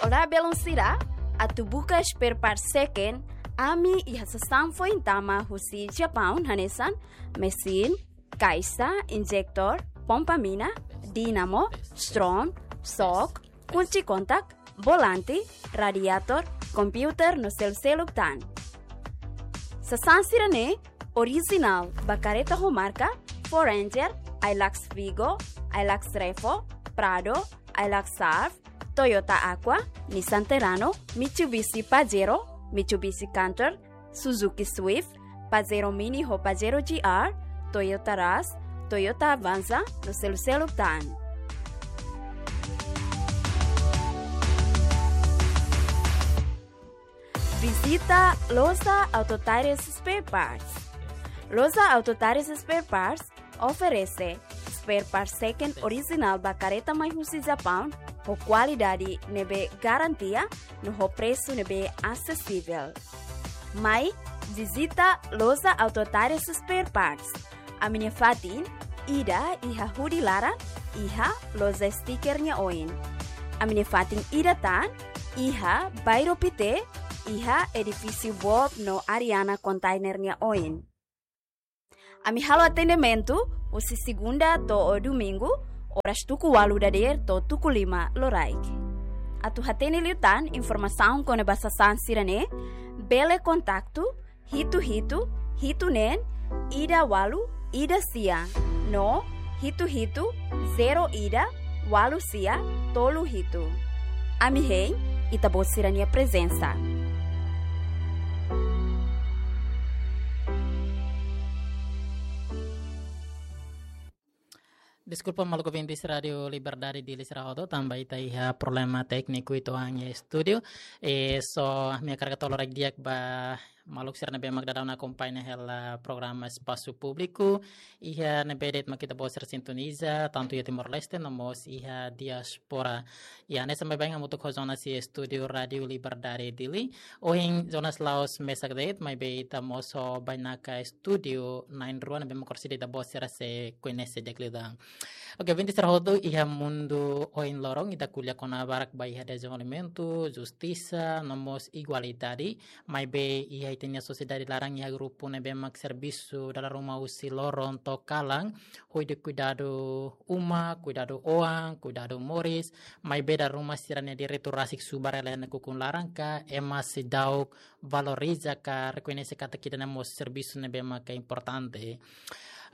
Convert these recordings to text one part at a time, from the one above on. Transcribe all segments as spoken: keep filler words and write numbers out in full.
Olá, belun sira, atu buka spare part second, ami iha sasán foin tama husi Japaun hanesan mesin, kaixa, injektór, pompa mina, dínamo, strom, sok, kunci kontak, volante, radiator, komputadór no selu-seluk tan. Sasán sira-ne'e orijinál ba karreta ho marka Ford Ranger, Hilux Vigo, Hilux Revo, Prado, Hilux Surf, Toyota Aqua, Nissan Terrano, Mitsubishi Pajero, Mitsubishi Canter, Suzuki Swift, Pajero Mini ho Pajero G R, Toyota Rush, Toyota Avanza no selu-seluk tan. Vizita Loja Auto Tires Spare Parts. Loja Auto Tires Spare Parts oferese spare part second orijinál ba karreta mai husi Japaun ho kualidade ne'ebé garantia no ho presu ne'ebé asesivel. Mai vizita Loja Auto Tires Spare Parts. Ami-nia fatin ida iha Hudi laran, iha loja stiker nia oin. Ami-nia fatin ida tan iha Bairro Pité, iha edifísiu Bob no Ariana Container nia oin. Ami halo atendimentu husi segunda to'o domingu, oras tuku ualu dadeer to'o tuku lima loraik. Atu hatene liután informasaun kona-ba sasán sira-ne'e, bele kontaktu hitu hitu, hitu neen, ida ualu, ida sia, no hitu hitu, zero ida, ualu sia, tolu hitu. Ami hein Ita-Boot sira-nia prezensa. Deskulpa, maluk ouvintes Rádio Liberdade Dili sira hotu, tanba ita iha problema tékniku uitoan iha estúdiu. E so, ami hakarak hato'o lorokraik di'ak ba maluk sira ne'ebé mak daudaun akompaña hela programa Espasu Públiku. Iha ne'ebé de'it mak Ita-Boot sira sintoniza, tantu iha Timor-Leste, no mós iha diáspora. Iha ne'e sampai bain hamutuk ho Jonas iha estúdiu Rádio Liberdade Dili. Ohin Jonas la'ós mesak de'it, maibé ita mós ho bainaka estúdiu na'in-rua ne'ebé mak orsida Ita-Boot sira sei koñese di'ak liután. Oke, ouvintes sira hotu, iha mundu ohin loron ita ko'alia kona-ba barak ba iha dezenvolvimentu, justisa, no mós igualdade, maibé iha ita-nia sosiedade laran iha grupu ne'ebé mak servisu dala ruma husi loron to'o kalan, hodi kuidadu uma, kuidadu oan, kuidadu moris, maibé dala ruma sira-nia direitu rasik subar hela iha nakukun laran ka ema seidauk valoriza ka rekoñese katak ida-ne'e mós servisu ne'ebé maka importante.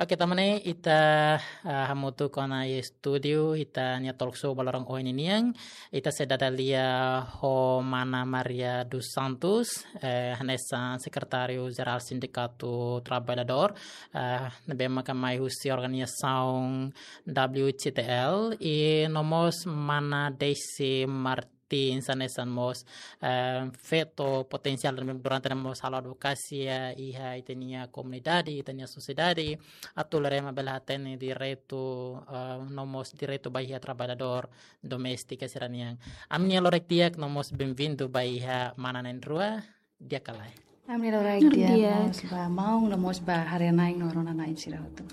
Oke, tanba ne'e ita, ah, hamutuk ona iha estúdiu ita-nia talk show ba loron ohin nian. Ita sei dada lia ho Mana Maria dos Santos, eh, hanesan Sekretáriu Jerál Sindikatu Traballadór, eh, ne'ebé maka mai husi organizasaun W C T L, i no mós Mana Daisy Martins, hanesan mós, eh, feto potensiál ne'ebé durante ne'e mós halo advokasia iha ita-nia komunidade, ita-nia sosiedade, atu lori ema bele hatene direitu, eh, no mós direitu ba iha traballadór doméstika sira-nian. Ami-nia lorokraik di'ak no mós benvindu ba iha Mana na'in-rua, di'ak ka lae? Ami-nia lorokraik di'ak, di'ak, no mós ba maun, no mós ba haree-na'in no rona-na'in sira hotu.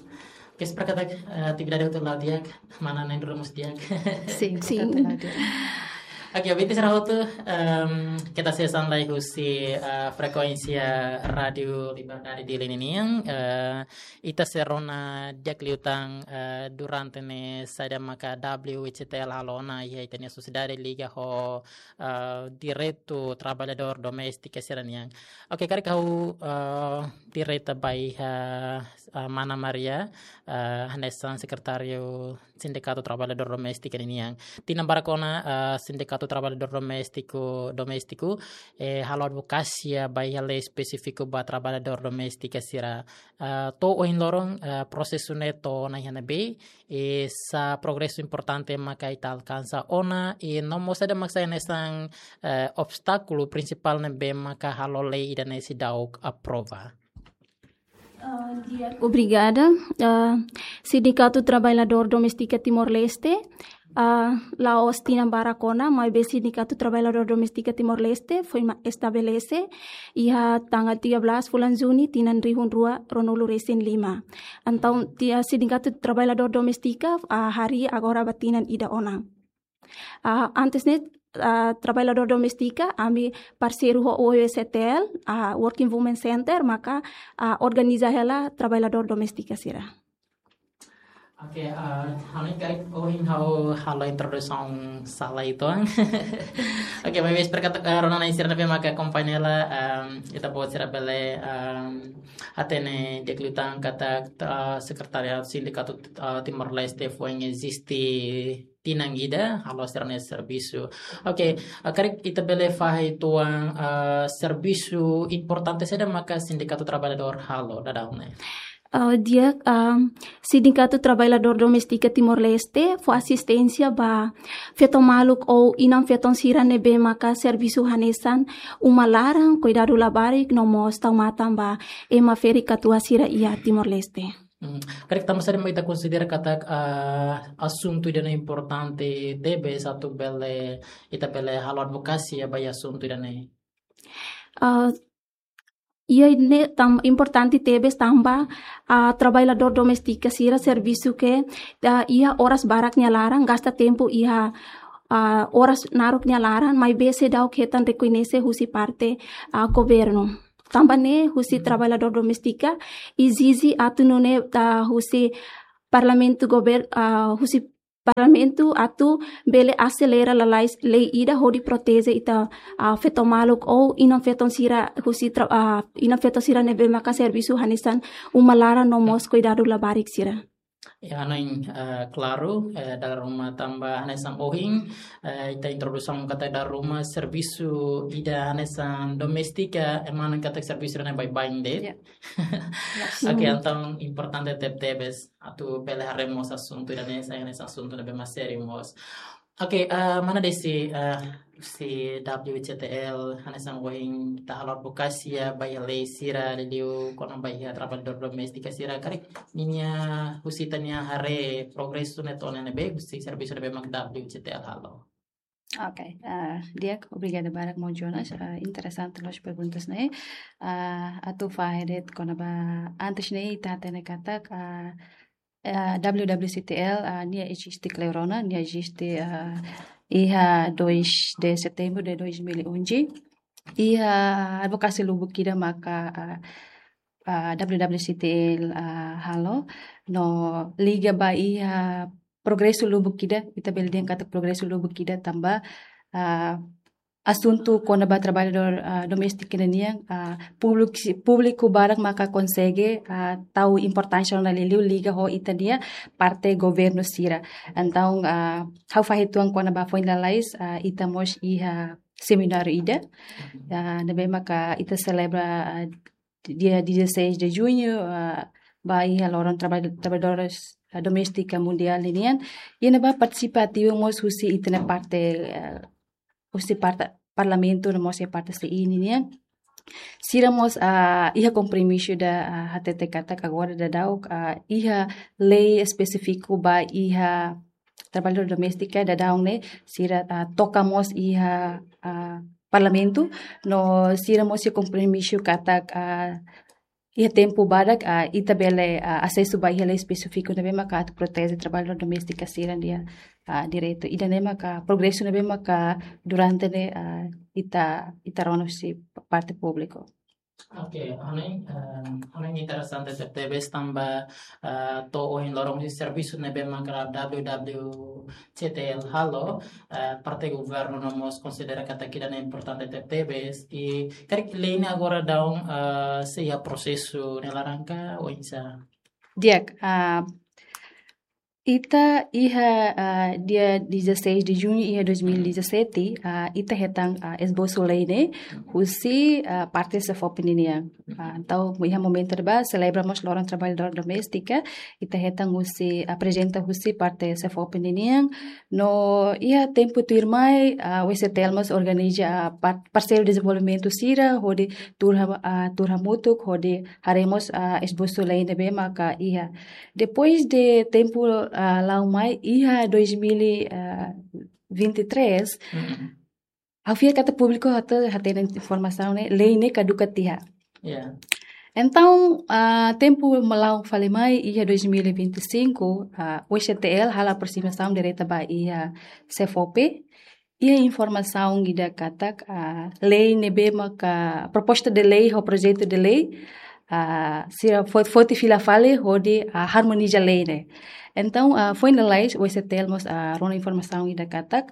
Oke, espera katak, eh, atividade hotu la'o di'ak, Mana na'in-rua mós di'ak. Sin, sin. Hotu la'o di'ak. Oke, ouvintes sira hotu, em, keta hanesan lai husi, eh, frekuénsia Rádio Liberdade Dili ninian, eh, ita sei rona di'ak liután, eh, durante ne'e saida maka W C T L halo ona iha ita-nia sosiedade liga ho, eh, direitu traballadór doméstika sira-nian. Oke, karik ha'u, eh, direta ba iha, eh, Mana Maria, eh, hanesan Sekretáriu Sindikatu Traballadór Doméstika ninian. Tinan barak ona, eh, Sindikatu Traballadór Doméstiku, Doméstiku, eh, halo advokasia ba iha lei espesífiku ba traballadór doméstika sira. Eh, to'o ohin loron, eh, prosesu ne'e to'o ona iha ne'ebé, i sá progresu importante maka ita alkansa ona, i no mós saida mak sai hanesan, eh, obstákulu prinsipál ne'ebé maka halo lei ida-ne'e seidauk aprova. Ah, di'ak. Obrigada. Ah, Sindikatu Traballadór Doméstika Timor-Leste, ah, la'ós tinan barak ona, maibé Sindikatu Traballadór Doméstika Timor-Leste foin ma-, estabelese iha tanggal tiga belas fulan Juni tinan rihun rua ruanulu resin lima. Entaun, ti-, ah, Sindikatu Traballadór Doméstika, ah, harii agora ba tinan ida ona. Ah, antes ne'e, ah, traballadór doméstika, ami parseiru ho O E C T L, ah, Working Women Center, maka, ah, organiza hela traballadór doméstika sira. Oke, ah, ha'u hanoin karik ohin ha'u halo introdusaun sala uitoan. Oke, maibé espera katak, ah, rona-na'in sira ne'ebé maka akompaña hela, ah, ita-boot sira bele, ah, hatene di'ak liután katak, ah, Sekretariadu Sindikatu, ah, Timor-Leste foin eziste tinan ida, halo sira-nia servisu. Oke, ah, karik ita bele fahe uitoan, ah, servisu importante saida maka Sindikatu Traballadór halo daudaun ne'e? Ah, di'ak, ah, Sindikatu Traballadór Doméstika Timor-Leste fó asisténsia ba feto maluk ou inan-feton sira ne'ebé maka servisu hanesan uma laran, kuidadu labarik, no mós tau matan ba ema ferik-katuas sira iha Timor-Leste. Hmm, karik tanba saida mak ita konsidera katak, ah, asuntu ida-ne'e importante tebes atu bele, ita bele halo advokasia ba iha asuntu ida-ne'e? Ah, iha ne'e tan importante tebes tanba, ah, traballadór doméstika sira servisu ke, ah, iha oras barak nia laran, gasta tempu iha, ah, oras naruk nia laran, maibé seidauk hetan rekoñese husi parte, ah, governu. Tanba ne'e husi, hmm, traballadór doméstika ezije atu nune'e, ah, husi parlamentu gover-, ah, husi parlamentu atu bele aselera lalais lei ida hodi proteje ita, ah, feto maluk ou inan-feton sira husi tra-, ah, inan-feton sira ne'ebé maka servisu hanesan uma laran no mós kuidadu labarik sira. Ya, hanoin, eh, klaru, eh, dala ruma tanba hanesan ohin, eh, ita introdusaun katak dala ruma servisu ida hanesan doméstika, ema hanoin katak servisu ida-ne'e baibain de'it. Ya. Ya. Oke, entaun importante tebetebes atu bele haree mós asuntu ida-ne'e, sai hanesan asuntu ne'ebé mak sériu mós. Oke, eh, mana desi, eh, husi W C T L, hanesan ohin ita halo advokasia ba iha lei sira, liuliu kona-ba iha traballadór doméstika sira, karik ninia husi ita-nia haree progresu ne'e to'o ne'ebé, husi servisu ne'ebé mak W C T L halo. Oke, eh, di'ak, obrigada barak maun Jonas, eh, interesante loos perguntas ne'e. Eh, atu fahe de'it kona-ba antes ne'e ita hatene katak, eh, eh, W W C T L, eh, nia eziste kleur ona, nia eziste, eh, iha dois de setembro de dois mil e onze. Iha advokasia lubuk ida maka, eh, eh, W W C T L, eh, halo, no liga ba iha progresu lubuk ida, ita bele dehan katak progresu lubuk ida tanba, ah, asuntu kona-ba traballadór, ah, doméstika nian, ah, públiku, públiku barak maka konsege, ah, tau importánsia ona liuliu liga ho ita-nia parte governu sira. Entaun, ah, ha'u fahe uitoan kona-ba foin lalais, ah, ita mós iha semináriu ida, ah, ne'ebé maka ita selebra, ah, dia dezasseis de junho, ah, ba iha loron trabal-, traballadores, ah, doméstika mundiál ninian. Iha ne'ebá partisipa ativu mós husi ita-nia parte, ah, husi parte parlamentu no mós iha parte C I ninian. Sira mós, ah, iha kompromisu ida, ah, hatete katak agora daudaun, ah, iha lei espesífiku ba iha traballadór doméstika daudaun ne'e, sira, ah, toka mós iha, ah, parlamentu, no sira mós iha kompromisu katak, ah, iha tempu badak, ah, ita bele, ah, asesu ba iha lei espesífiku ne'ebé maka atu proteje traballadór doméstika sira-nia, ah, direitu. Ida-ne'e maka progresu ne'ebé maka durante ne'e, ah, ita, ita rona husi parte públiku. Oke, hanoin, eh, hanoin interesante tebetebes tanba, eh, to'o ohin loron husi servisu ne'ebé maka W W C T L halo, eh, parte governu no mós konsidera katak ida-ne'e importante tebetebes. I karik lei ne'e agora daudaun, eh, sei iha prosesu nia laran ka oinsá? Di'ak, ah, ita iha, ah, dia dezasseis de junho iha dois mil e dezassete, ah, ita hetan, ah, esbosu lei ne'e husi, ah, parte SEFOPE ninian. Ah, entaun iha momentu ne'ebá selebra mós loron traballadór doméstika, ita hetan husi, aprezenta husi parte SEFOPE ninian. No iha tempu tuirmai, ah, W C T L mós organiza, ah, par-, parseiru dezenvolvimentu sira hodi tuur ha-, ah, tuur hamutuk hodi haree mós, ah, esbosu lei ne'ebé maka iha. Depois de tempu, ah, la'o mai iha dois mil e vinte e três, mm-mm, ha'u fiar katak públiku atu hatene informasaun ne'e, lei ne'e kaduka tiha. Ya. Entaun, ah, tempu mela'o fali mai iha dois mil e vinte e cinco, ah, W C T L halo aprosimasaun direta ba iha SEFOPE. iha informasaun ida katak, ah, lei ne'ebé maka proposta de lei ho projetu de lei, ah, sira fo-, foti fila fali hodi, ah, harmoniza lei ne'e. Entaun, ah, foin lalais, O E C T L mós, ah, rona informasaun ida katak,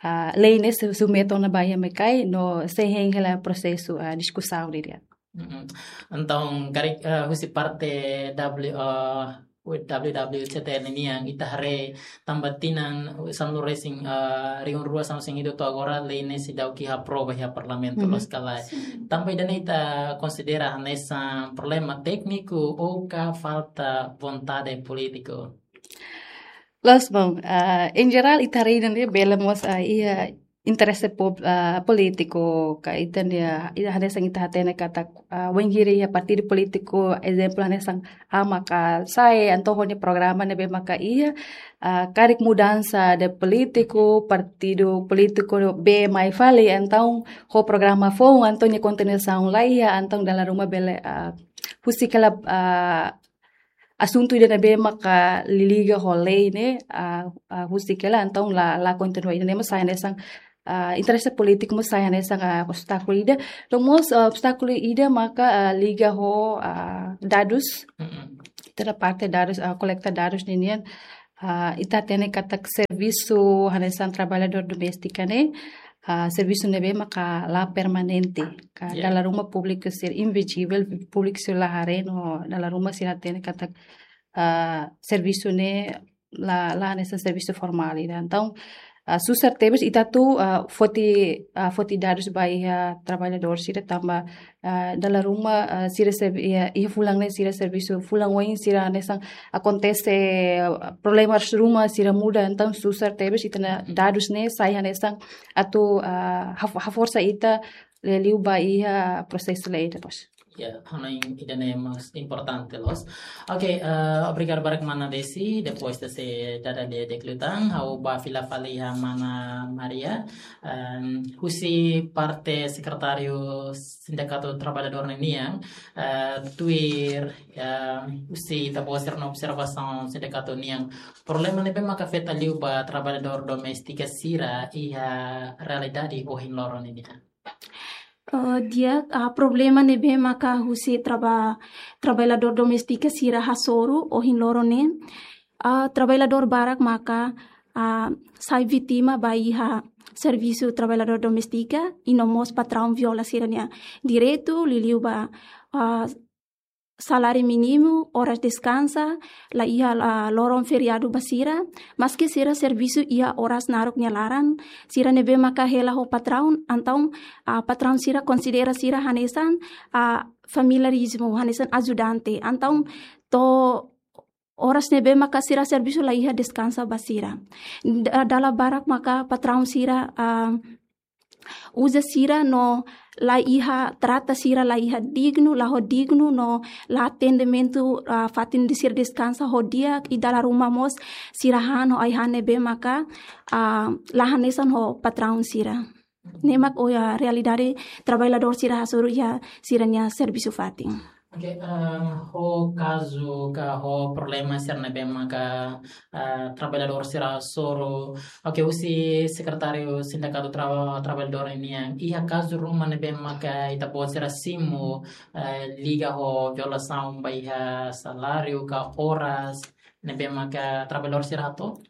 ah, lei ne'e su-, submete ona ba iha MECAI no sei hein hela prosesu, ah, diskusaun didi'ak. Mm-mm. Entaun, karik, eh, husi parte W, eh, W W C T N nian, ita haree tanba tinan sanulu resin, eh, rihun rua sanulu resin hitu to'o agora lei ne'e seidauk aprova iha parlamentu. Mhm. Loos ka lae. Sin. Tanba ida-ne'e ita konsidera hanesan problema tékniku ou ka falta vontade polítiku? Loos, bom, ah, em geral, ita haree ida-ne'e bele mós, ah, iha interese pub-, ah, polítiku, ka ita-nia, ita hanesan ita hatene katak, ah, wainhira iha partidu polítiku, ezemplu hanesan A maka sai, entaun ho nia programa ne'ebé maka iha, ah, karik mudansa de polítiku, partidu polítiku B mai fali, entaun ho programa foun, entaun nia kontinuasaun la iha, entaun dala ruma bele, ah, husik hela, ah, asuntu ida ne'ebé maka liga ho lei ne'e, ah, ah, husik hela, entaun la, la kontinua, ida-ne'e mós sai hanesan, ah, interese polítiku mós sai hanesan, ah, obstákulu ida. No mós, ah, obstákulu ida maka, ah, liga ho, ah, dadus. Mm-mm. Ita-nia parte dadus, ah, kolekta dadus ninian, ah, ita hatene katak servisu hanesan traballadór doméstika ne'e, ah, servisu ne'ebé maka la permanente. Ka, ya, dala ruma públiku sira invizivel, públiku sira la haree no dala ruma sira hatene katak, ah, servisu ne'e la, la hanesan servisu formál ida. Entaun, ah, susar tebes ita atu, ah, foti, ah, foti dadus ba iha traballadór sira tanba, ah, dala ruma, ah, sira servi-, iha, iha fulan ne'e sira servisu, fulan oin sira hanesan akontese, ah, problemas ruma sira muda, entaun susar tebes ita-nia dadus ne'e sai hanesan atu, ah, haf-, haforsa ita liuliu ba iha prosesu lei depois. Ya, hanoin ida-ne'e mós importante loos. Oke, eh, obrigadu barak mana Desi, depois de se dada de, de klutan, ha'u bá fila fali iha mana Maria, em, husi parte sekretáriu Sindikatu Traballadór nian, eh, tuir, eh, husi ita-boot sira-nia observasaun sindikatu nian, problema ne'ebé maka afeta liu ba traballadór doméstika sira iha realidade ohin loron nian? Eh, di'ak, ah, problema ne'ebé maka husi traba-, traballadór doméstika sira hasoru ohin loron ne'e. Ah, traballadór barak maka, ah, sai vítima ba iha servisu traballadór doméstika, i no mós patraun viola sira-nia direitu, liuliu ba, ah, saláriu mínimu, oras deskansa, la iha, ah, loron feriadu ba sira, maski sira servisu iha oras naruk nia laran, sira ne'ebé maka hela ho patraun, entaun, ah, patraun sira konsidera sira hanesan, ah, familiarizmu, hanesan ajudante, entaun to'o oras ne'ebé maka sira servisu la iha deskansa ba sira. Da-, dala barak maka patraun sira, ah, uza sira no la iha, trata sira la iha dignu, la ho dignu no la atendimentu, ah, fatin ida sira deskansa ho di'ak, i dala ruma mós sira han ho ai-han ne'ebé maka, ah, la hanesan ho patraun sira. Ne'e mak, oh ya, realidade traballadór sira hasoru iha sira-nia servisu fatin. Oke, eh, ho kazu ka ho problema sira ne'ebé maka, eh, traballadór sira hasoru. Oke, husi sekretáriu sindikatu traba-, traballadór nian, iha kazu ruma ne'ebé maka ita-boot sira simu, eh, liga ho violasaun ba iha saláriu ka oras ne'ebé maka traballadór sira hato'o?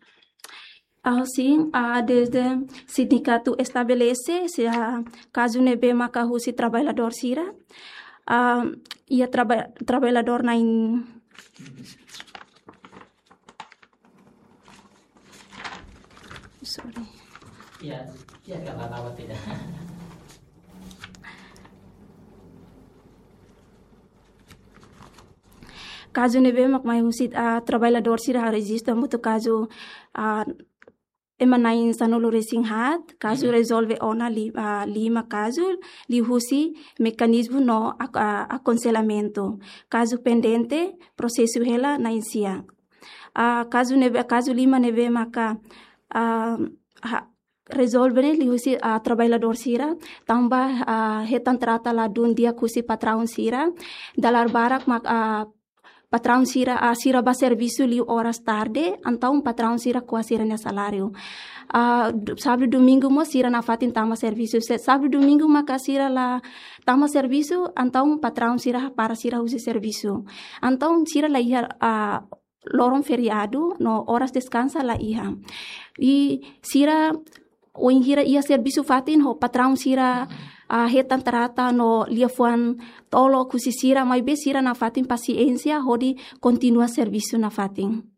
Ah, sin, ah, desde sindikatu estabelese, se, ah, kazu ne'ebé maka husi traballadór sira, ah, iha traba-, traballadór na'in, sorry. Ya, ya, enggak apa-apa, tidak. Kazu ne'ebé mak mai husi, ah, traballadór sira harejistu hamutuk kazu, ah, ema na'in sanulu resin haat, kazu, mhm, rezolve ona li-, ah, lima kazu, liuhusi mekanizmu no ak-, ah, akonselhamentu. Kazu pendente, prosesu hela na'in sia. Ah, kazu ne'ebé, kazu lima ne'ebé maka, ah, ha-, rezolve ne'e liuhusi, ah, traballadór sira, tanba, ah, hetan trata ladún di'ak husi patraun sira, dala barak mak, ah, patraun sira, ah, sira bá servisu liu oras tarde, entaun patraun sira ko'a sira-nia saláriu. Ah, du-, sábadu domingu mós sira nafatin tama servisu. Se sábadu domingu maka sira la tama servisu, entaun patraun sira hapara sira husi servisu. Entaun sira la iha, ah, loron feriadu, no oras deskansa la iha. I sira wainhira iha servisu fatin ho patraun sira, ah, hetan trata no liafuan tolok husi sira, maibé sira nafatin pasiénsia hodi kontinua servisu nafatin.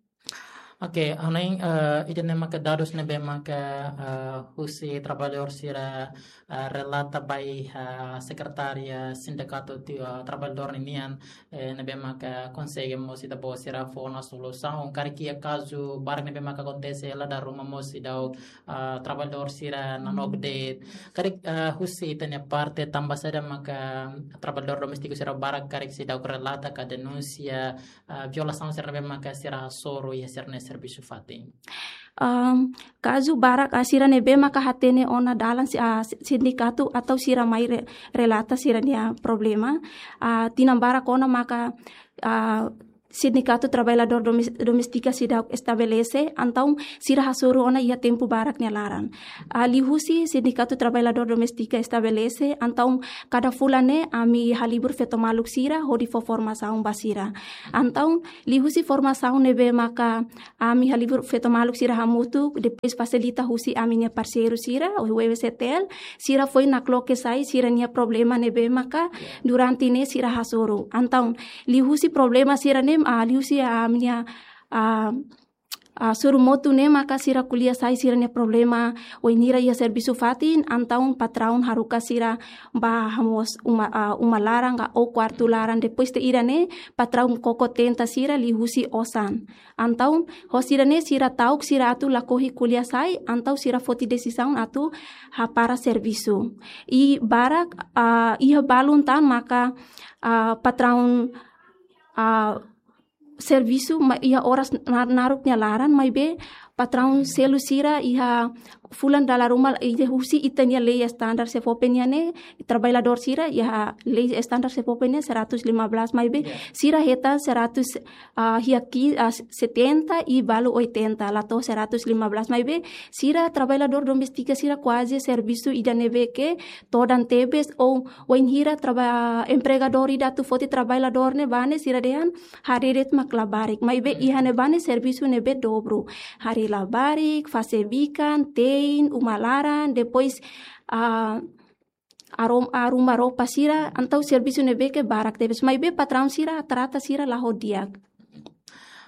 Oke, hanoin, eh, ida-ne'e maka dadus ne'ebé maka, eh, husi traballadór sira, eh, relata ba iha sekretária sindikatu ti, eh, traballadór ninian, eh, ne'ebé maka konsege mós ita-boot sira fó ona solusaun. Karik iha kazu barak ne'ebé maka akontese la dala ruma mós seidauk, eh, traballadór sira nanook de'it. Karik, eh, husi ita-nia parte tanba saida maka traballadór doméstiku sira barak karik seidauk relata ka denunsia, ah, violasaun sira ne'ebé maka sira hasoru iha sira-nia servisu fatin. Am, kazu barak, ah, sira ne'ebé maka hatene ona dalan si-, ah, si-, sindikatu atau sira mai re-, relata sira-nia problema. Ah, tinan barak ona maka, ah, sindikatu traballadór domes-, doméstika seidauk estabelese, entaun sira hasoru ona iha tempu barak nia laran. Ah, liuhusi sindikatu traballadór doméstika estabelese, entaun kada fulan ne'e ami halibur feto maluk sira hodi fó formasaun ba sira. Entaun liuhusi formasaun ne'ebé maka ami halibur feto maluk sira hamutuk, depois fasilita husi ami-nia parseiru sira, W W C T L, sira foin nakloke sai sira-nia problema ne'ebé maka durante ne'e sira hasoru. Entaun liuhusi problema sira-ne'e, ah, liuhusi ami-nia, ah, ah, sorumotu ne'e maka sira ko'alia sai sira-nia problema wainhira iha servisu fatin, entaun patraun haruka sira bá hamoos uma, ah, uma laran ka ou kuartu laran, depois de ida-ne'e patraun koko tenta sira liuhusi osan. Entaun ho sira-ne'e sira ta'uk sira atu lakohi ko'alia sai, entaun sira foti desizaun atu hapara servisu. I barak, ah, iha balun tan maka, ah, patraun, ah, servisu ma-, iha oras na-, naruk nia laran, maibé patraun selu sira iha fulan dala ruma iha husi ita-nia lei estandar SEFOPE nian ne'e, traballadór sira iha lei estandar SEFOPE nian seratus lima belas, maibé sira hetan seratus, ah, iha ki-, ah, setenta i balu oitenta, la to'o seratus lima belas, maibé sira traballadór doméstika sira kuaze servisu ida ne'ebé ke todan tebes ou wainhira traba-, empregadór ida atu foti traballadór ne'ebá ne'e sira dehan haree de'it mak labarik. Maibé iha ne'ebá ne'e servisu ne'ebé dobru. Haree labarik, fase bikan, te'in, uma laran, depois, ah, arum-, arruma roupa sira, entaun servisu ne'ebé ke barak tebes. Maibé patraun sira trata sira la ho di'ak.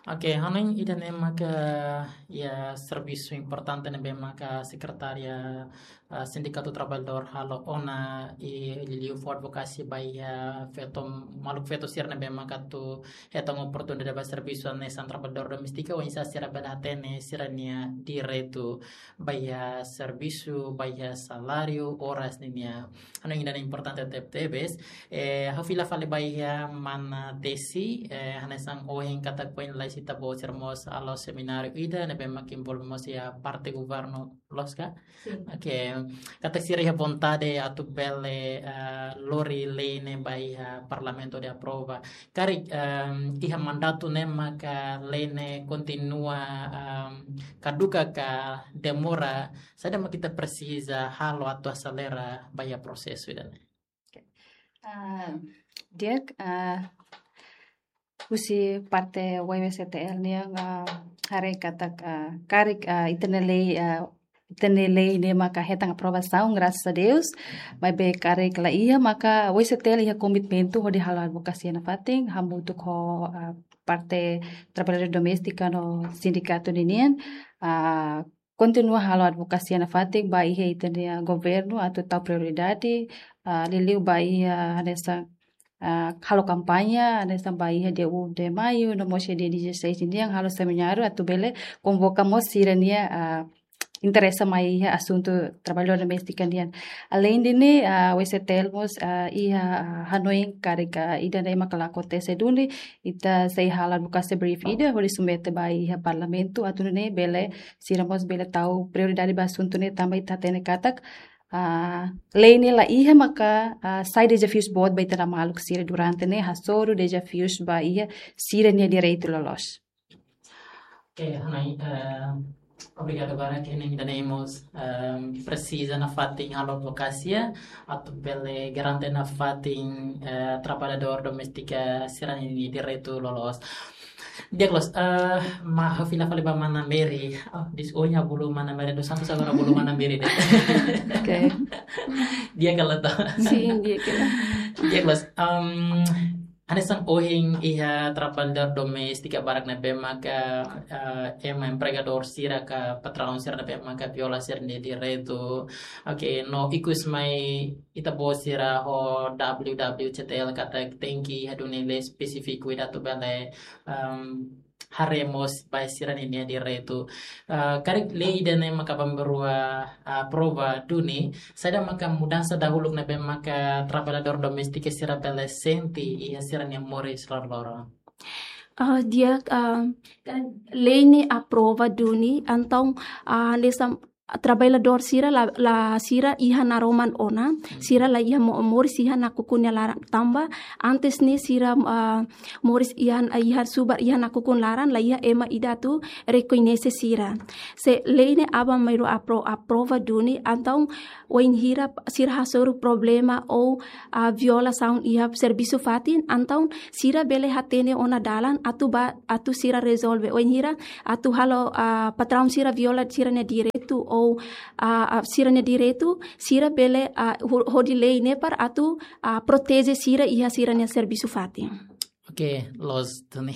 Oke, hanoin ida-ne'e maka iha servisu importante ne'ebé maka sekretária, ah, sindikatu traballadór halo ona i liuliu fó advokasia ba iha feto, maluk feto sira ne'ebé maka atu hetan oportunidade ba servisu hanesan traballadór doméstika, oinsá sira bele hatene sira-nia direitu ba iha servisu, ba iha saláriu, oras nian. Hanoin ida-ne'e importante teb-, tebes. Eh, ha'u fila fali ba iha mana Desi, eh, hanesan ohin katak foin lalais ita-boot sira mós halo semináriu ida ne'ebé mak envolve mós iha parte governu, loos ka? Sin. Oke, katak sira iha vontade atu bele, eh, lori lei ne'e ba iha parlamentu hodi aprova. Karik, em, iha mandatu ne'e maka lei ne'e kontinua, em, kaduka ka demora, saida mak ita presiza halo atu aselera ba iha prosesu ida-ne'e? Oke. Ah, di'ak, ah, husi parte W W C T L nian, ah, haree katak, ah, karik, ah, ita-nia lei, ah, ita-nia lei ne'e maka hetan aprovasaun, graças a Deus. Maibé karik la iha, maka W W C T L iha komitmentu hodi halo advokasia nafatin, hamutuk ho, ah, parte traballadór doméstika no sindikatu ninian, ah, kontinua halo advokasia nafatin ba iha ita-nia governu atu tau prioridade, ah, liuliu ba iha hanesan, ah, halo kampaña, hanesan ba iha dia um de maio, no mós dia dezasseis nian halo semináriu atu bele konvoka mós sira-nia, ah, interesa mai iha asuntu traballadór doméstika nian. Aleinde ne'e, ah, W W C T L mós, ah, iha, ah, hanoin karik, ah, ida-ne'e maka la akontese duni, ita sei halo advokasia brief ida, hodi submete ba iha parlamentu, atu nune'e bele, sira mós bele tau prioridade ba asuntu ne'e tanba ita hatene katak, ah, lei ne'e la iha maka, ah, sai dezafius boot ba ita-nia maluk sira durante ne'e hasoru dezafius ba iha sira-nia direitu loloos. Oke, Hanoi, eh, obrigadu barak, ida-ne'e mós, eh, presiza nafatin halo advokasia atu bele garante nafatin, eh, traballadór doméstika sira-nia direitu loloos. Di'ak loos, eh, mai fila fali ba Mana Mary. Oh, dis onya bolu Mana Mary dos Santos, agora bolu Mana Mary de'it. Oke. Di'ak ka lae to? Sin, di'ak ka lae. Di'ak loos, em, hanesan ohin iha traballadór doméstika barak ne'ebé maka, eh, ema empregadór sira ka patraun sira ne'ebé maka viola sira-nia direitu. Oke, no ikus mai ita-boot sira ho W W C T L katak tenke iha duni lei espesífiku ida atu bele, em, haree mós ba sira-nia direitu. Eh, karik lei ida-ne'e maka bá mai rua, eh, aprova duni, saida maka mudansa dahuluk ne'ebé maka traballadór doméstika sira bele sente iha sira-nia moris loroloron? Ah, di'ak, ah, kan lei ne'e aprova duni, entaun, ah, hanesan traballadór sira la, la sira iha naroman ona, sira la iha mo-, moris iha nakukun nia laran tanba antes ne'e sira, ah, moris iha, iha subar iha nakukun laran, la iha ema ida atu rekoñese sira. Se lei ne'e aban mai rua apro-, aprova duni, entaun wainhira sira hasoru problema ou, ah, violasaun iha servisu fatin, entaun sira bele hatene ona dalan atu bá, atu sira rezolve. Wainhira atu halo, ah, patraun sira viola sira-nia direitu ou, ah, ah, sira-nia direitu, sira bele, ah, ho-, hodi lei ne'e para atu, ah, proteje sira iha sira-nia servisu fatin. Oke, loos duni.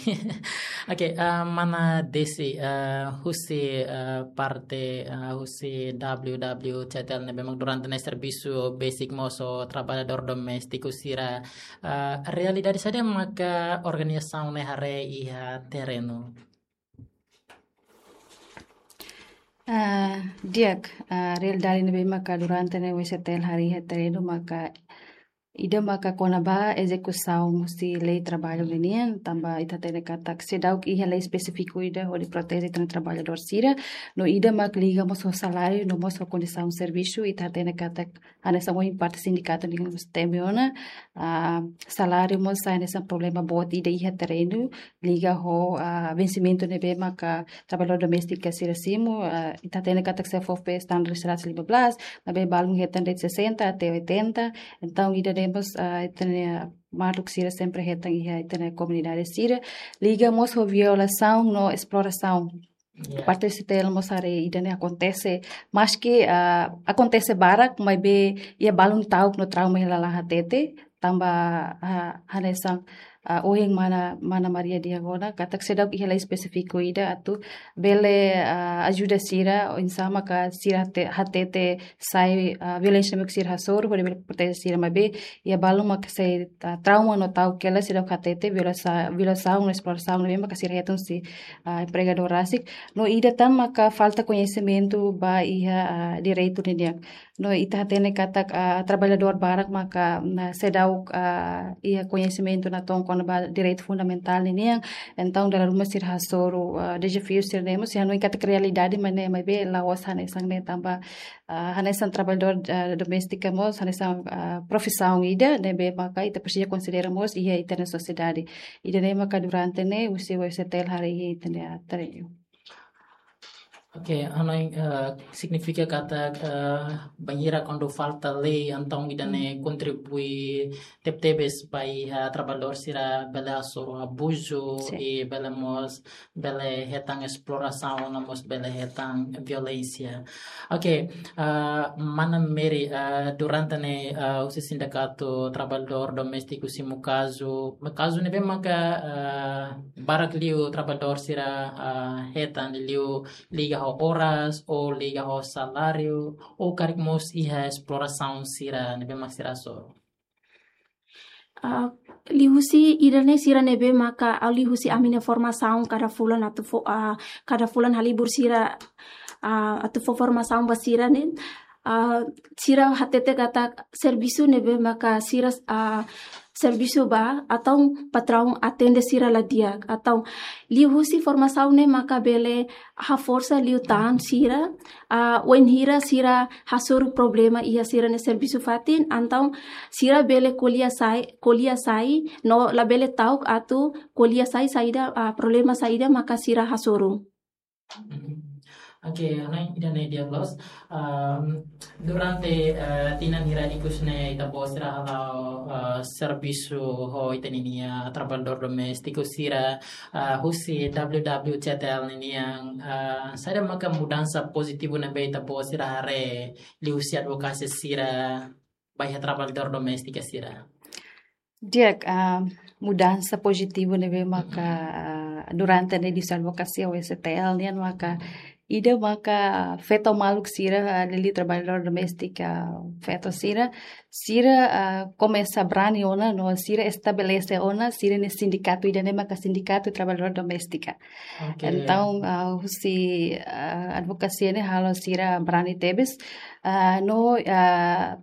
Oke, eh, Mana Desi, eh, husi, eh, parte, eh, husi W W C T L ne'ebé mak durante ne'e servisu besik mós ho traballadór doméstiku sira, eh, realidade saida maka organizasaun ne'e haree iha terrenu? Ah, di'ak, ah, realidade ne'ebé maka durante ne'e W C T L haree iha terrenu maka ida maka kona-ba ezekusaun husi lei traballu ninian, tanba ita hatene katak seidauk iha lei espesífiku ida hodi proteje ita-nia traballadór sira, no ida mak liga mós ho saláriu, no mós ho kondisaun servisu, ita hatene katak hanesan ohin parte sindikatu nian mós temi ona, ah, saláriu mós sai hanesan problema boot ida iha terrenu, liga ho, ah, vensimentu ne'ebé maka traballadór doméstika sira simu, ah, ita hatene katak se fó pe standar seratus lima belas, maibé balun hetan de'it sessenta até oitenta. Entaun, ida-ne'e mós, ah, ita-nia maluk sira sempre hetan iha ita-nia komunidade sira. Liga mós ho violasaun no esplorasaun. Ya. Parte C T L mós haree ida-ne'e akontese, maski, ah, akontese barak, maibé iha balun ta'uk no trauma iha lalehan hatete, tanba, ah, hanesan, ah, ohin Mana, Mana Maria dehan ona, katak seidauk iha lei espesífiku ida atu bele, ah, ajuda sira, oinsá maka sira hate-, hatete sai, ah, violénsia mak sira hasoru, hodi bele proteje sira, maibé iha balun maka sei, ah, trauma no ta'uk hela, seidauk hatete violasa-, violasaun no esplorasaun ne'ebé maka sira hetan husi, ah, empregadór rasik. No ida tan maka falta koñesimentu ba iha, ah, direitu ninian. No ita hatene katak, ah, traballadór barak maka, na, seidauk, ah, iha koñesimentu natoon kona-ba direitu fundamentál ninian. Entaun, dala ruma sira hasoru, ah, dezafiu sira-ne'e mós, hanoin katak realidade mak ne'e, maibé la'ós hanesan ne'e tanba, ah, hanesan traballadór, ah, doméstika mós, hanesan, ah, profisaun ida ne'ebé maka ita presiza konsidera mós iha ita-nia sosiedade. Ida-ne'e maka durante ne'e, husi W C T L haree iha ita-nia terrenu. Oke, hanoin, eh, signifika katak, eh, bainhira kuandu falta lei, entaun ida-ne'e kontribui tebetebes ba iha traballadór sira bele hasoru abuzu, sin, i bele mós, bele hetan esplorasaun, no mós bele hetan violénsia. Oke, eh, Mana Mary, eh, durante ne'e, eh, husi sindikatu traballadór doméstiku simu kazu, kazu ne'ebé maka, eh, barak liu traballadór sira, eh, hetan liu liga ho oras, ou liga ho saláriu, ou karik mós iha esplorasaun sira ne'ebé mak sira hasoru? Ah, liuhusi ida-ne'e sira ne'ebé maka, ah, liuhusi ami-nia formasaun kada fulan atu fó, ah, kada fulan halibur sira, ah, atu fó formasaun ba sira ne'e, ah, sira hatete katak servisu ne'ebé maka sira, ah, servisu ba, entaun patraun atende sira la di'ak, entaun liuhusi formasaun ne'e maka bele haforsa liután sira, ah, wainhira sira hasoru problema iha sira-nia servisu fatin, entaun sira bele ko'alia sai, ko'alia sai, no labele ta'uk atu ko'alia sai saida, ah, problema saida maka sira hasoru. Mhm. Oke, hanoin ida-ne'e di'ak loos. Ehm, durante, eh, tinan hirak ikus ne'e ita-boot sira hala'o, eh, servisu ho ita-nia trabalhadór doméstiku sira, eh, husi W W C T L ninian, eh, saida maka mudansa pozitivu ne'ebé ita-boot sira haree liuhusi advokasia sira ba iha trabalhadór doméstika sira? Di'ak, ah, mudansa pozitivu ne'ebé maka, ah, durante ne'e husi advokasia W C T L nian maka ida maka feto maluk sira, ah, liuliu trabalhadór doméstika, ah, feto sira, sira, ah, komesa brani ona no sira estabelese ona sira-nia sindikatu, ida-ne'e maka Sindikatu Trabalhadór Doméstika. Oke. Entaun, ah, husi, ah, advokasia ne'e halo sira brani tebes, ah, no, ah,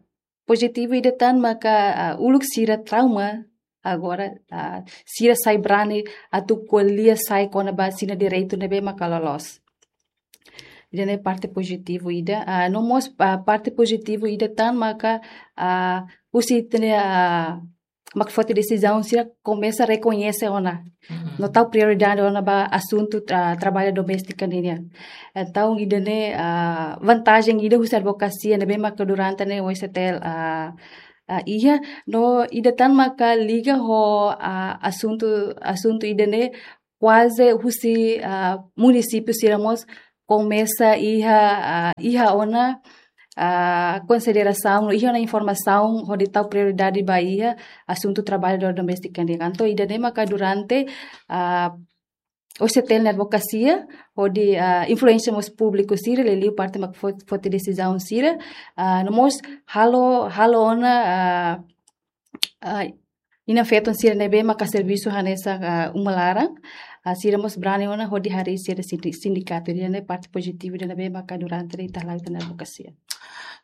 pozitivu ida tan maka, ah, uluk sira trauma, agora, ah, sira sai brani atu ko'alia sai kona-ba sira-nia direitu ne'ebé maka loloos. Ida-ne'e parte pozitivu ida, ah, no mós, ah, parte pozitivu ida tan maka, ah, husi ita-nia, ah, mak foti desizaun sira komesa rekoñese ona. Mhm. No tau prioridade ona ba asuntu tra-, trabalho doméstico nian. Entaun ida-ne'e, ah, vantajen ida husi advokasia ne'ebé maka durante ne'e W C T L, ah, ah, iha, no ida tan maka liga ho, ah, asuntu, asuntu ida-ne'e kuaze husi, ah, munisípiu sira mós komesa iha, ah, iha ona, ah, konsiderasaun, iha ona informasaun hodi tau prioridade ba iha asuntu trabalhadór doméstika nian. Entaun ida-ne'e maka durante, ah, W C T L nia advokasia hodi, ah, influensia mós públiku sira, liuliu parte mak fo-, foti desizaun sira, ah, no mós halo, halo ona, ah, ah, inan-feton sira ne'ebé maka servisu hanesan, ah, uma laran, ah, sira mós brani ona hodi harii sira sindi-, sindikatu, ida-ne'e parte pozitivu ida ne'ebé maka durante ne'e ita hala'o ita-nia advokasia.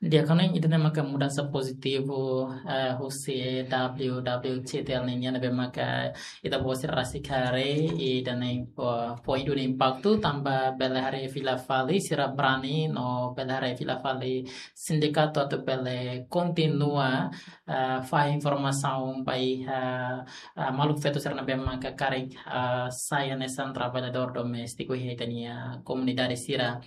Di'ak, hanoin ida-ne'e maka mudansa pozitivu, eh, husi W W C T L nian ne'ebé maka ita-boot sira rasik haree, ida-ne'e fó, fó iha ona impaktu tanba bele haree fila fali sira brani no bele haree fila fali sindikatu atu bele kontinua, eh, fahe informasaun ba iha, eh, maluk feto sira ne'ebé maka karik, eh, sai hanesan trabalhadór doméstiku iha ita-nia komunidade sira.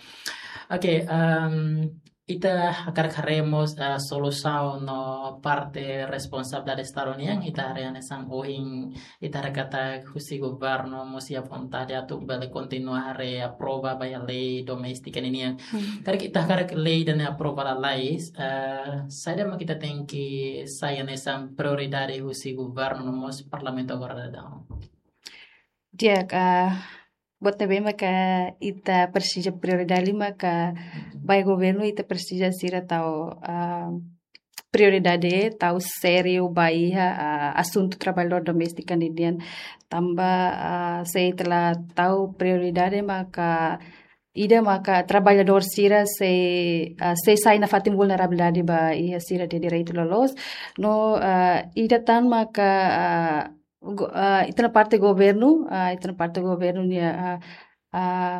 Oke, em, ita hakarak haree mós, eh, solusaun no parte responsabilidade Estadu nian, ita haree hanesan ohin, ita haree katak husi governu mós iha vontade atu bele kontinua haree aprova ba iha lei doméstika ninian. Hmm. Karik ita hakarak lei ida-ne'e aprova lalais, eh, saida mak ita tenke sai hanesan prioridade husi governu no mós parlamentu agora daudaun? Di'ak, ah, buat ne'ebé maka ita presiza prioridade maka ba iha governu ita presiza sira tau, ah, prioridade tau sériu ba iha, ah, asuntu trabalhadór doméstika nian. Tanba, ah, se ita la tau prioridade maka ida maka trabalhadór sira sei, ah, sei sai nafatin vulnerabilidade ba iha sira-nia direitu loloos. No, ah, ida tan maka, ah, go-, ah, ita-nia parte governu, ah, ita-nia parte governu nia, ah, ah,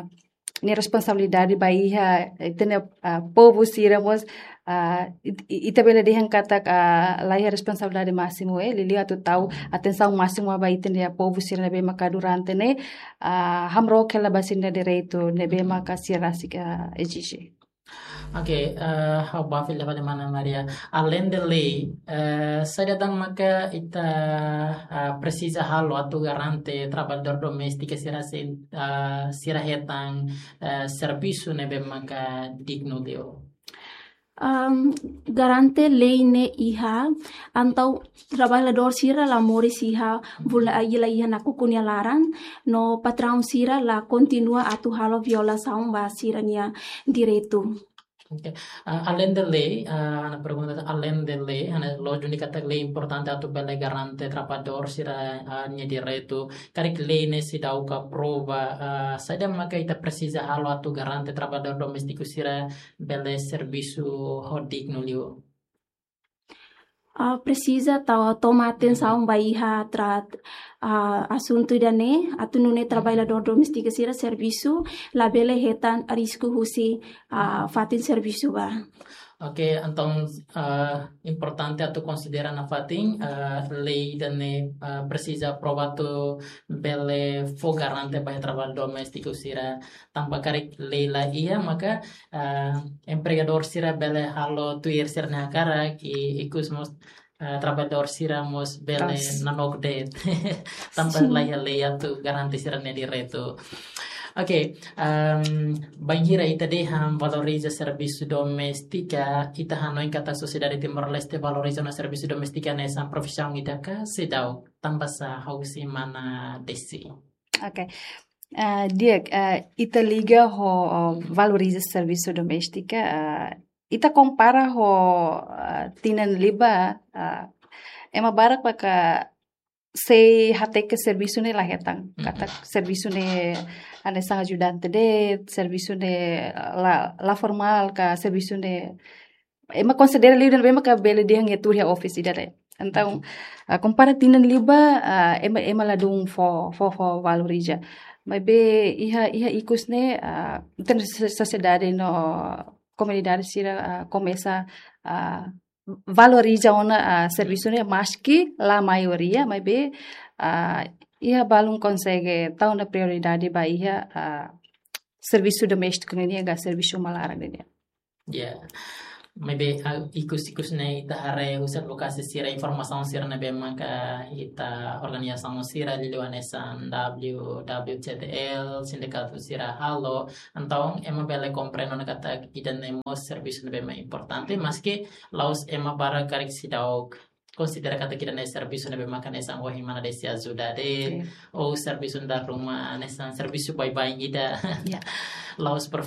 nia responsabilidade ba iha ita-nia, ah, povu sira mós, ah, it-, it-, ita bele dehan katak, ah, laiha responsabilidade másimu, eh, liuliu atu tau atensaun másimu ba ita-nia povu sira ne'ebé maka durante ne'e, ah, hamrook hela ba sira-nia direitu ne'ebé maka sira rasik, ah, ezije. Oke, eh, ha'u bá fila fali mana Maria. Aleinde lei, eh, saida tan maka ita, eh, presiza halo atu garante trabalhadór doméstika sira sei, eh, sira hetan, eh, servisu ne'ebé maka dignu liu? Am, garante lei ne'e iha, entaun trabalhadór sira la moris iha, vulne-, ah, la iha nakukun nia laran, no patraun sira la kontinua atu halo violasaun ba sira-nia direitu. Oke. Ah, aleinde lei, ah, ha'u-nia pergunta aleinde lei, ha'u-nia lójika katak lei importante atu bele garante trabalhadór sira, ah, nia direitu. Karik lei ne'e seidauk aprova, ah, saida maka ita presiza halo atu garante trabalhadór doméstiku sira bele servisu ho dignu liu? ah, presiza tau toma atensaun ba iha trat, ah, asuntu ida-ne'e, atu nune'e traballadór doméstiku sira servisu labele hetan risku husi, ah, fatin servisu ba. Oke, entaun, ah, importante atu konsidera nafatin, ah, lei ida-ne'e, ah, presiza aprova atu bele fó garante ba traballadór doméstiku sira, tanba karik lei la iha maka, ah, empregadór sira bele halo tuir sira-nia hakarak i ikus mós, ah, traballadór sira mós bele Tos. nanook de'it. Tanba Sin. la iha lei atu garante sira-nia direitu. Oke, em, bainhira ita dehan valoriza servisu doméstika, ita hanoin katak sosiedade Timor-Leste valoriza ona servisu doméstika hanesan profisaun ida ka seidauk, tanba sá, husi mana Desi? Oke. Ah, di'ak, ah, ita liga ho, oh, valoriza servisu doméstika, ah, ita kompara ho, ah, tinan liubá, ah, ema barak maka sei hateke servisu ne'e la hetan. Mhm. Katak servisu ne'e hanesan ajudante de'it, servisu ne'e la, la formál ka servisu ne'e ema konsidera liu de'it, ema ka bele dehan iha tuur iha office ida de'it. Entaun, Mhm. ah, kompara tinan liubá, ah, ema, ema ladún fó, fó, fó valoriza. Maibé iha, iha ikus ne'e, ah, ita-nia so-, sosiedade no komunidade sira, ah, komesa, ah, valoriza ona, ah, servisu ne'e maski la maioria, maibé, ah, iha balun konsege tau ona prioridade ba iha, ah, servisu doméstiku ne'e ka servisu uma laran ne'e. Ya. Maibé, ah, ikus-ikus ne'e ita haree husi advokasi sira, informasaun sira ne'ebé maka ita organizasaun sira liuliu hanesan W W T L, sindikatu sira halo, entaun ema bele komprende ona katak ida-ne'e mós servisu ne'ebé mak importante, maski la'ós ema barak karik seidauk konsidera katak ida-ne'e servisu ne'ebé maka hanesan ohin mana Desi ajuda de'it, Iya. ou servisu dala ruma hanesan servisu baibain ida. Iya. La'ós profi-,